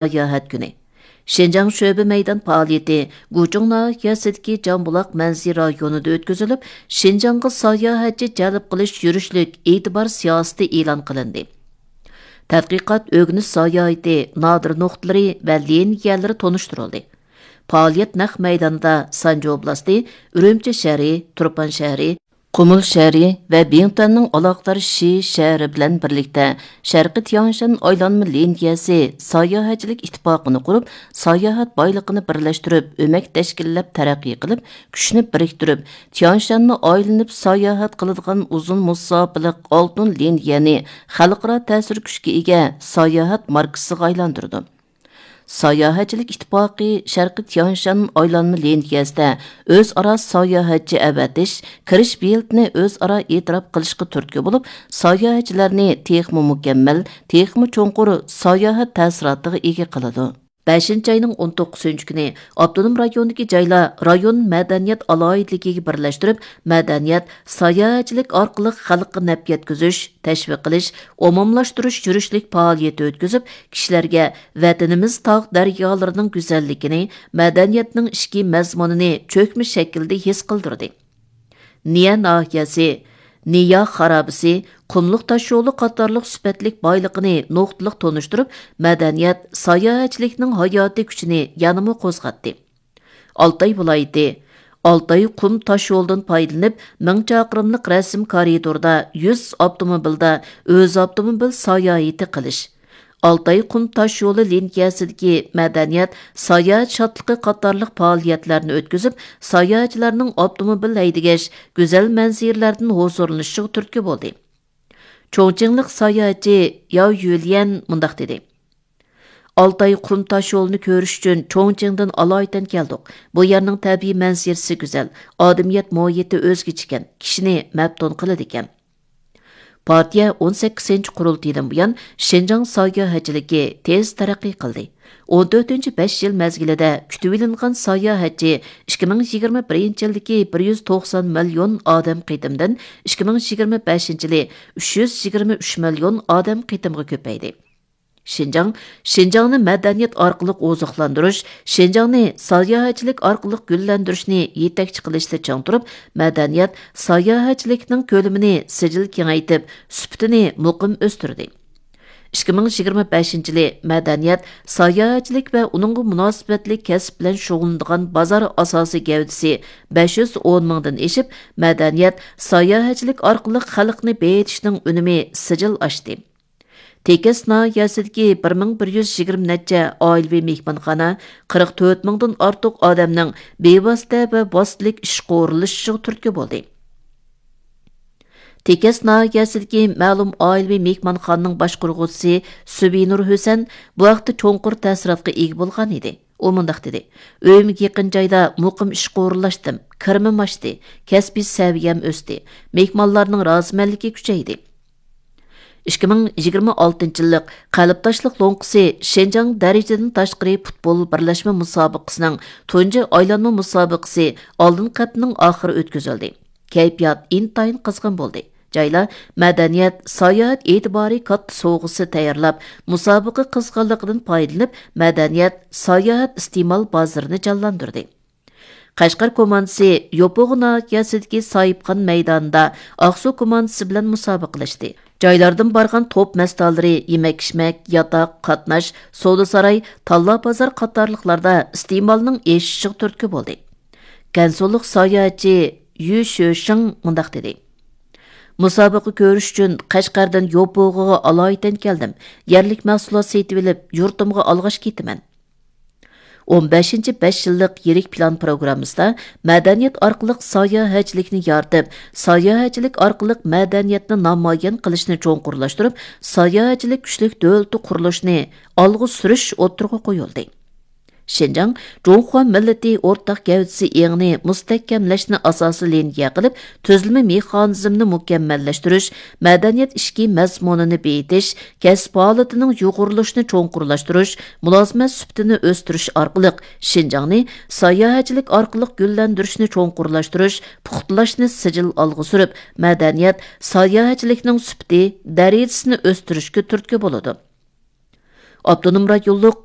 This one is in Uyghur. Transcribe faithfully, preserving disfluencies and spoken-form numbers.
ساياھەت كۈنى. شىنجاڭ شۆبە مەيدان پائالىيىتى گۇچۇڭ ناھىيەسىدىكى جامبۇلاق مەنزىرە رايونىدا ئۆتكۈزۈلۈپ، شىنجاڭغا ساياھەتچى جەلپ قىلىش يۈرۈشلۈك ئېتىبار سىياسىتى ئېلان قىلىندى. تەتقىقات، ئۆگىنىش ساياھىتى نادىر نۇقتىلىرى ۋە لىنىيەلىرى تونۇشتۇرۇلدى. پائالىيەت نەق مەيدانىدا سانجى ئوبلاستى، ئۈرۈمچى شەھىرى، تۇرپان شەھىرى، قۇمۇل شەھىرى ۋە بىڭتۈەننىڭ ئالاقىدار شى شەھىرى بىلەن بىرلىكتە شەرقىي تياڭشان ئايلانما لىنىيەسى ساياھەتچىلىك ئىتتىپاقىنى قۇرۇپ، ساياھەت بايلىقىنى بىرلەشتۈرۈپ، ئۆمەك تەشكىللەپ تەرەققىي قىلىپ، كۈچنى بىرىكتۈرۈپ، تياڭشاننى ئايلىنىپ ساياھەت قىلىدىغان ئۇزۇن مۇساپىلىق ئالتۇن لىنىيەنى خەلقئارا تەسىر كۈچكە ئىگە ساياھەت ماركىسىغا ئايلاندۇرىدۇ. ساياھەتچىلىك ئىتتىپاقى شەرقىي تياڭشان ئايلانما لىنىيەسىدە ئۆزئارا ساياھەتچى ئەۋەتىش، كىرىش بېلىتىنى ئۆزئارا ئېتىراپ قىلىشقا تۈرتكە بولۇپ، ساياھەتچىلەرنى تېخىمۇ مۇكەممەل، تېخىمۇ چوڭقۇر ساياھەت تەسىراتىغا ئىگە قىلىدۇ. بەشىنچى ئاينىڭ ئون توققۇزىنچى كۈنى ئاپتونوم رايوندىكى جايلار رايون مەدەنىيەت ئالاھىدىلىكىگە بىرلەشتۈرۈپ، مەدەنىيەت، ساياھەتچىلىك ئارقىلىق خەلققە نەپ يەتكۈزۈش، تەشۋىق قىلىش، ئومۇملاشتۇرۇش يۈرۈشلۈك پائالىيىتى ئۆتكۈزۈپ، كىشىلەرگە ۋەتىنىمىز تاغ دەريالىرىنىڭ گۈزەللىكىنى، مەدەنىيەتنىڭ ئىچكى مەزمۇنىنى چۆكمە شەكىلدە ھېس قىلدۇردى. نىيە ناھىيەسى، نىيا خارابىسى، قۇملۇق تاشيولى قاتارلىق سۈپەتلىك بايلىقىنى نۇقتىلىق تونۇشتۇرۇپ، مەدەنىيەت، ساياھەتچىلىكنىڭ ھاياتىي كۈچىنى يەنىمۇ قوزغاتتى. ئالتاي ۋىلايىتى، ئالتاي قۇم تاشيولىدىن پايدىلىنىپ، مىڭ چاقىرىملىق رەسىم كارىدوردا يۈز ئاپتوموبىلدا ئۆز ئاپتوموبىل ساياھىتى قىلىش، ئالتاي قۇم تاشيولى لىنىيەسىدىكى مەدەنىيەت، ساياھەت شادلىقى قاتارلىق پائالىيەتلەرنى ئۆتكۈزۈپ، ساياھەتچىلەرنىڭ ئاپتوموبىل ھەيدىگەچ گۈزەل مەنزىرىلەردىن ھۇزۇرلىنىشىغا تۈرتكە بولدى. چوڭچىڭلىق ساياھەتچى ياۋ يۈليەن مۇنداق دېدى: ئالتاي قۇم تاشيولىنى كۆرۈش ئۈچۈن چوڭچىڭدىن ئالايىتەن كەلدۇق. بۇ يەرنىڭ تەبىئىي مەنزىرىسى گۈزەل، ئادەمىيەت مۇھىتى ئۆزگىچىكەن، كىشىنى مەپتۇن قىلىدىكەن. پارتىيە ئون سەككىزىنچى قۇرۇلتىيىدىن بۇيان شىنجاڭ ساياھەتچىلىكى تېز تەرەققىي قىلدى. ئون تۆتىنچى بەش يىل مەزگىلىدە كۈتۈۋېلىنغان ساياھەتچى ئىككى مىڭ يىگىرمە بىرىنچى يىلدىكى بىر يۈز توقسان مىليون ئادەم قېتىمدىن ئىككى مىڭ يىگىرمە بەشىنچى يىلى ئۈچ يۈز يىگىرمە ئۈچ مىليون ئادەم قېتىمغا كۆپەيدى. شىنجاڭ، شىنجاڭنى مەدەنىيەت ئارقىلىق ئوزۇقلاندۇرۇش، شىنجاڭنى ساياھەتچىلىك ئارقىلىق گۈللەندۈرۈشنى يېتەكچى قىلىشتا چىڭ تۇرۇپ، مەدەنىيەت، ساياھەتچىلىكنىڭ كۆلىمىنى سىجىل كېڭەيتىپ، سۈپىتىنى مۇقىم ئۆستۈردى. ئىككى مىڭ يىگىرمە بەشىنچى يىلى مەدەنىيەت، ساياھەتچىلىك ۋە ئۇنىڭغا مۇناسىۋەتلىك كەسىپ بىلەن شۇغۇللىنىدىغان بازار ئاساسىي گەۋدىسى بەش يۈز ئون مىڭدىن ئېشىپ، مەدەنىيەت، ساياھەتچىلىك ئارقىلىق خەلقنى بېيىتىشنىڭ ئۈنۈمى سىجىل ئاشتى. تېكەس ناھىيەسىدىكى بىر مىڭ بىر يۈز يىگىرمە نەچچە ئائىلىۋى مېھمانخانا قىرىق تۆت مىڭدىن ئارتۇق ئادەمنىڭ بىۋاسىتە ۋە ۋاسىتىلىك ئىشقا ئورۇنلىشىشىغا تۈرتكە بولدى. تېكەس ناھىيەسىدىكى مەلۇم ئائىلىۋى مېھمانخانىنىڭ باشقۇرغۇچىسى سۈبىنۇر ھۈسەن بۇ ھەقتە چوڭقۇر تەسىراتقا ئىگە بولغان ئىدى. ئۇ مۇنداق دېدى: ئۆيۈمگە يېقىن جايدا مۇقىم ئىشقا ئورۇنلاشتىم، كىرىمىم ئاشتى، كەسپىي سەۋىيەم ئۆستى، مېھمانلارنىڭ رازىمەنلىكى كۈچەيدى. ئىككى مىڭ يىگىرمە ئالتىنچى يىللىق قەلبداشلىق لوڭقىسى شىنجاڭ دەرىجىدىن تاشقىرى پۇتبول بىرلەشمە مۇسابىقىسىنىڭ تۇنجى ئايلانما مۇسابىقىسى ئالدىنقى ھەپتىنىڭ ئاخىرى ئۆتكۈزۈلدى. كەيپىيات ئىنتايىن قىزغىن بولدى. جايلار مەدەنىيەت، ساياھەت ئېتىبارى كاتتا سوۋغىسى تەييارلاپ، مۇسابىقە قىزغىنلىقىدىن پايدىلىنىپ، مەدەنىيەت، ساياھەت ئىستېمال بازىرىنى جانلاندۇردى. قەشقەر كوماندىسى يوپۇغا ناھىيەسىدىكى ساھىبخان مەيدانىدا ئاقسۇ كوماندىسى بىلەن مۇسابىقىلەشتى. جايلاردىن بارغان توپ مەستانىلىرى يېمەك-ئىچمەك، ياتاق، قاتناش، سودا-ساراي، تاللا-بازار قاتارلىقلاردا ئىستېمالنىڭ ئېشىشىغا تۈرتكە بولدى. گەنسۇلۇق ساياھەتچى يۈ شۆشىڭ مۇنداق دېدى: مۇسابىقە كۆرۈش ئۈچۈن قەشقەردىن يوپۇغىغا ئالايىتەن كەلدىم. يەرلىك مەھسۇلات سېتىۋېلىپ، يۇرتۇمغا ئالغاچ كېتىمەن. ئون بەشىنچى بەش يىللىق يىرىك پىلان پروگراممىسىدا مەدەنىيەت ئارقىلىق ساياھەتچىلىكنى يارىتىپ، ساياھەتچىلىك ئارقىلىق مەدەنىيەتنى نامايان قىلىشنى چوڭقۇرلاشتۇرۇپ، ساياھەتچىلىك كۈچلۈك دۆلىتى قۇرۇلۇشىنى ئالغا سۈرۈش ئوتتۇرىغا قويۇلدى. شىنجاڭ جۇڭخۇا مىللىتى ئورتاق گەۋدىسى ئېڭىنى مۇستەھكەملەشنى ئاساسىي لىنىيە قىلىپ، تۈزۈلمە مېخانىزمىنى مۇكەممەللەشتۈرۈش، مەدەنىيەت ئىچكى مەزمۇنىنى بېيىتىش، كەسىپ ھالىتىنىڭ يۇغۇرۇلۇشىنى چوڭقۇرلاشتۇرۇش، مۇلازىمەت سۈپىتىنى ئۆستۈرۈش ئارقىلىق شىنجاڭنى ساياھەتچىلىك ئارقىلىق گۈللەندۈرۈشنى چوڭقۇرلاشتۇرۇش، پۇختىلاشنى سىجىل ئالغا سۈرۈپ، مەدەنىيەت، ساياھەتچىلىكنىڭ سۈپىتى، دەرىجىسىنى ئۆستۈرۈشكە تۈرتكە بولىدۇ. ئاپتونوم رايونلۇق